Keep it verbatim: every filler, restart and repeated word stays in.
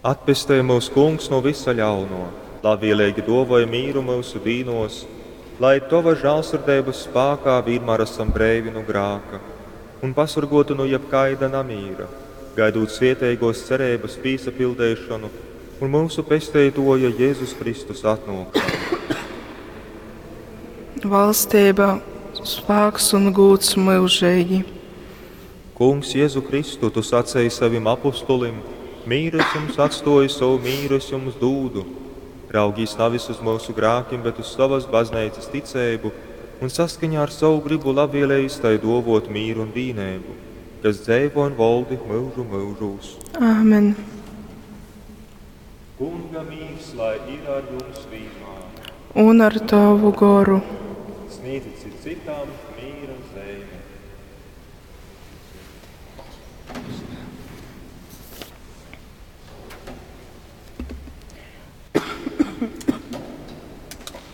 Atpestej myus, Kungs, nu vysa ļauno, labvieleigi duovoj mīru myusu dīnuos, lai Tova žālsirdeibys spākā vīnmār asam breivi nu grāka un pasorguoti nu jebkaida namīra, gaidūt svieteiguos cereibys pīsapildeišonu un myusu Pesteituoja Jezus Kristus atnuokšonu. Valstība, spāks un gūds myužeigi. Kungs, Jezu Kristu, Tu saceji savim apustulim: Mīru es jums atstoju, sovu mīru es jums dūdu. Raugīs navis uz myusu grākim, bet uz sovas bazneicas ticeibu un saskaņā ar savu gribu labvielejas tai duovot mīru un vīneibu, kas dzeivo un voldi myužu myužūs. Āmen. Kunga mīrs lai ir ar jums vīnmār. Un ar tavu goru. Sniedzit cits citam mīra zeimi.